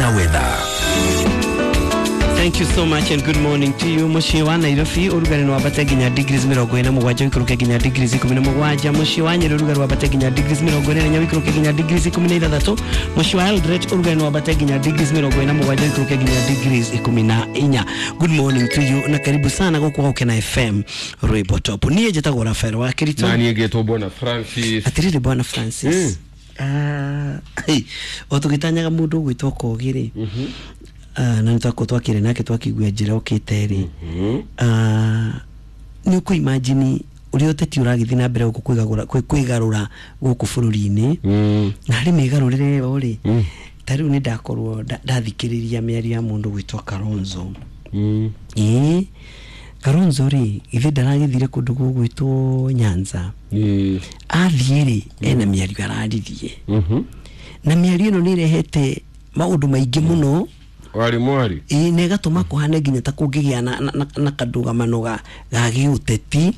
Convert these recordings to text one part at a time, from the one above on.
na weather. Thank you so much and good morning to you. Muciĩ wa Nairobi ũrugarĩ nĩ wambate nginya degrees 47 ũikũrũke nginya degrees 17. Muciĩ wa Nyeri ũrugarĩ wambate nginya degrees 44 ũikũrũke nginya degrees 16. Muciĩ wa Eldoret ũrugarĩ nĩ wambate nginya degrees 47 ũikũrũke nginya degrees 14. Good morning to you na karibu sana gũkũ Gũkena FM Rwĩmbo Top. Niĩ njĩtagwo Rafael wa Kirito. Na niĩ ngetwo Bwana Francis. Atirĩrĩ Bwana Francis. Ah, o tũgĩtanyaga mũndũ ũgwĩtwo Kogi rĩ, na nĩ twakorwo twakĩrĩ nake twakĩigua njĩra ũkĩte rĩ, nĩ ũkũ imagine ũrĩa ũteti ũragĩthiĩ na mbere gũkũ kwĩgarũra gũkũ bũrũri-inĩ, na harĩ mĩgarũrĩre ĩyo rĩ, ta rĩu nĩ ndakorwo ndathikĩrĩria mĩario ya mũndũ gwĩtwo Kalonzo. Ĩĩ, Kalonzo rĩ, githĩ ndaragĩthire kũndũ gũgwĩtwo Nyanza? Athiĩ rĩ, ena mĩario araririe, na mĩario ĩno nĩ ĩrehete maũndũ maingĩ mũno. Warĩ mwari. Ĩĩ, na ĩgatũma kũhane nginya ta kũngĩgĩa na kandũgamano ga gĩũteti.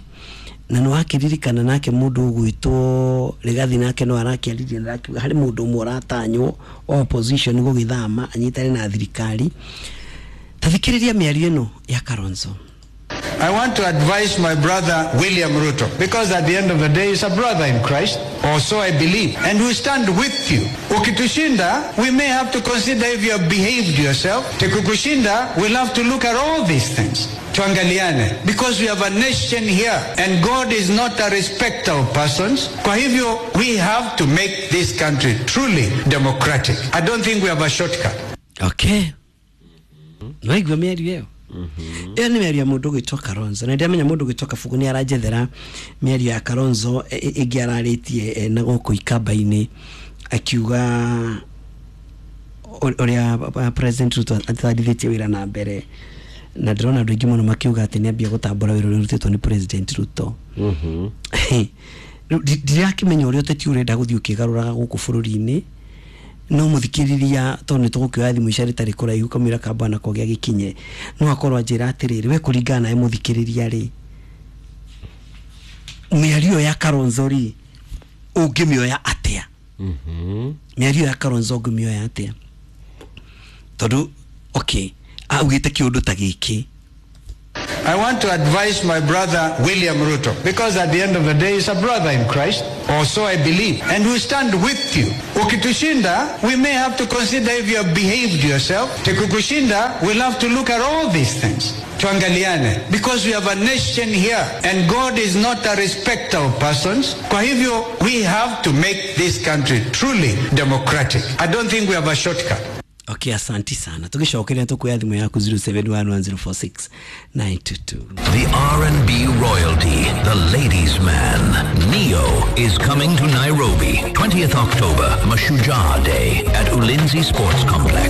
Na nĩ wakĩririkana nake mũndũ ũgwĩtwo Rigathi nake no arakĩaririe na arakiuga harĩ mũndũ ũmwe ũratanywo wa opposition gũgĩthama anyitane na thirikari. Ta thikĩrĩria mĩario ĩno ya Kalonzo. I want to advise my brother William Ruto, because at the end of the day, he's a brother in Christ, or so I believe, and we stand with you. Ukitushinda, we may have to consider if you have behaved yourself. Tukikushinda, we'll have to look at all these things. Tuangaliane, because we have a nation here, and God is not a respecter of persons. Kwa hivyo, we have to make this country truly democratic. I don't think we have a shortcut. Okay, nwaigua mĩario ĩyo? Ĩyo nĩ mĩario ya mũndũ ũgwĩtwo Kalonzo, na ndĩramenya mũndũ ũgwĩtwo Kabugu nĩ aranjethera mĩario ya Kalonzo ĩngĩ ararĩtie na gũkũ ikamba-inĩ, akiuga ũrĩa President Ruto atwarithĩtie wĩra na mbere, na ndĩrona andũ aingĩ mũno makiuga atĩ nĩ ambia gũtambũra wĩra ũrĩa ũrutĩtwo nĩ President Ruto. Rĩu ndirakĩmenya ũrĩa ũteti ũrenda gũthiĩ ũkĩgarũraga gũkũ bũrũri-inĩ, no mũthikĩrĩria, tondũ nĩ tũgũkĩoya thimũ ica rĩtarĩ kũraihu kamũira ka bwana Kogi agĩkinye, no akorwo anjĩra atĩrĩrĩ, we kũringana nawe mũthikĩrĩria rĩ, mĩario ĩyo ya Kalonzo rĩ, ũngĩmĩoya atĩa? Mĩario ya Kalonzo ũngĩmĩoya atĩa? Tondũ okay, augĩte kĩũndũ ta gĩkĩ. I want to advise my brother William Ruto, because at the end of the day, he's a brother in Christ, or so I believe, and we stand with you. Ukitushinda, we may have to consider if you have behaved yourself. Tukikushinda, we'll have to look at all these things. Tuangaliane, because we have a nation here, and God is not a respecter of persons. Kwa hivyo, we have to make this country truly democratic. I don't think we have a shortcut. Okay, asanti sana. Tũgĩcokeria tũkuoya thimũ yaku 0711046922. The R&B royalty, the ladies' man, Ne-Yo, is coming to Nairobi, 20th October, Mashujaa Day at Ulinzi Sports Complex.